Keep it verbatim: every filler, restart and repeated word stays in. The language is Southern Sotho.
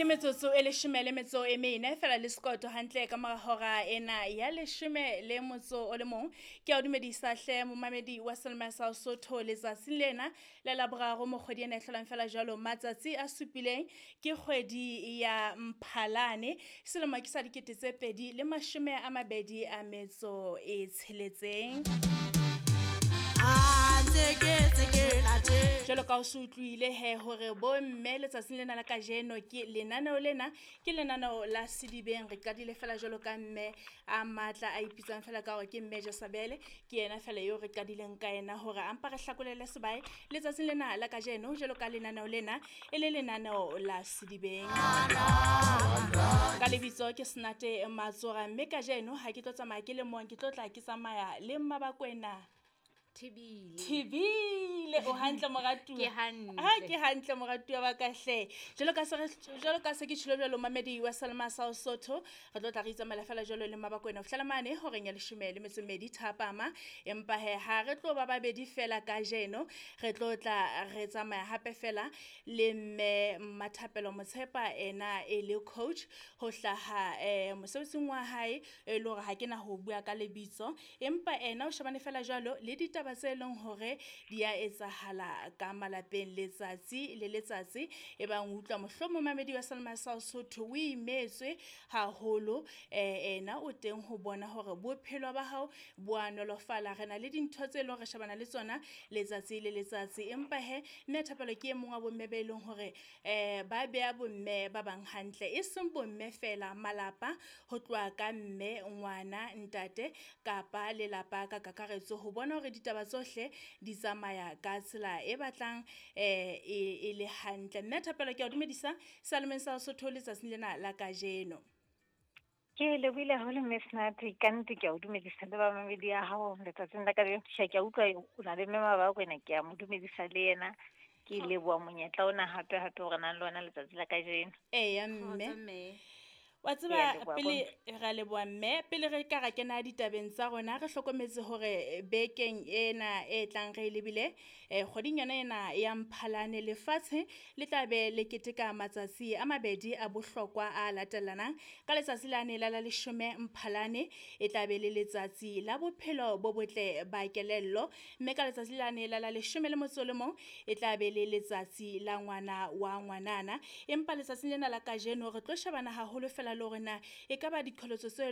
Ke metsotso e leshome le metso e mene fela le sekoto hantle ka mora hora ena ya leshome le motso o le mong. Ke a o dumedisa hle momamedi wa Selma sa Sotho letsatsing lena la Laboraro mo kgwedi ena e hlolang fela jwalo matsatsi a supileng ke kgwedi ya Mphalane selemo ke sa dikete tse pedi le mashome a mabedi a metso e tsheletseng. Jwalo ka o se utlwile he hore bo mme letsatsing lena la kajeno ke lenaneo lena ke lenaneo la Sedibeng. Re qadile fela jwalo ka mme a matla a ipitsang fela ka hore ke mme Jesabele, ke yena fela eo re qadileng ka yena hore a mpa re hlakolele sebae letsatsing lena la kajeno jwalo ka lenaneo lena e le lenaneo la Sedibeng. Ka lebitso ke Senate Matsora, mme kajeno ha ke tlo tsamaya ke le mong, ke tlo tla ke tsamaya le Mmabakwena Thibile. Thibile o hantle moratuwa? Ke hantle. Ha ke hantle moratuwa wa ka hle. Jwalo ka se re jwalo ka se ke tjhilo jwalo mamedi wa Selma sa Sotho, re tlo tla re itsamaela fela jwalo le Mmabakwena ho fihlela mane horeng ya leshome le metso e mmedi thapama. Empa he ha re tlo ba babedi fela kajeno, re tlo tla re tsamaya hape fela le mme Mmathapelo Motshepa ena e le coach ho hlaha eh mosebetsing wa hae e le hore ha ke na ho bua ka lebitso, empa ena o shebane fela jwalo le ditaba tse leng hore di a etsahala ka malapeng letsatsi le letsatsi. E bang o utlwa mohlomong mamedi wa Selma sa Sotho o imetswe haholo, eh ena o teng ho bona hore bophelo ba hao bo a nolofala. Re na le dintho tse leng hore re shebana le tsona letsatsi le letsatsi, empa he mme Thapelo ke e mong wa bomme be leng hore eh ba beha bomme ba bang hantle, e seng bomme fela, malapa ho tloha ka mme, ngwana, ntate kapa lelapa ka kakaretso, ho bona hore ditaba tsohle di tsamaya ka tsela e batlang eh e le hantle. Mme Thapelo ke a o dumedisa Salemeng sa Sotho letsatsing lena la kajeno. Ke lebohile haholo mme Senate, ka nnete ke a o dumedisa le bamamedi ya hao letsatsing la kajeno. Ke a utlwa o na le mme Mabakwena, ke a mo dumedisa le yena. Ke leboha monyetla ona hape hape hore nang le ona letsatsi la kajeno. Eya mme. Wa tseba pele ra leboha mme, pele re ka ra kena ditabeng tsa rona re hlokometse hore bekeng ena e tlang re lebile eh kgweding yona ena ya Mphalane lefatshe le tla be le keteka matsatsi a mabedi a bohlokwa a latelanang. Ka letsatsi la ne la la leshome Mphalane e tla be le letsatsi la bophelo bo botle ba kelello, mme ka letsatsi la ne la la leshome le motso le mong e tla be le letsatsi la ngwana wa ngwanana. Empa letsatsing lena la kajeno re tlo shebana haholo fela le hore na e ka ba diqholotso tse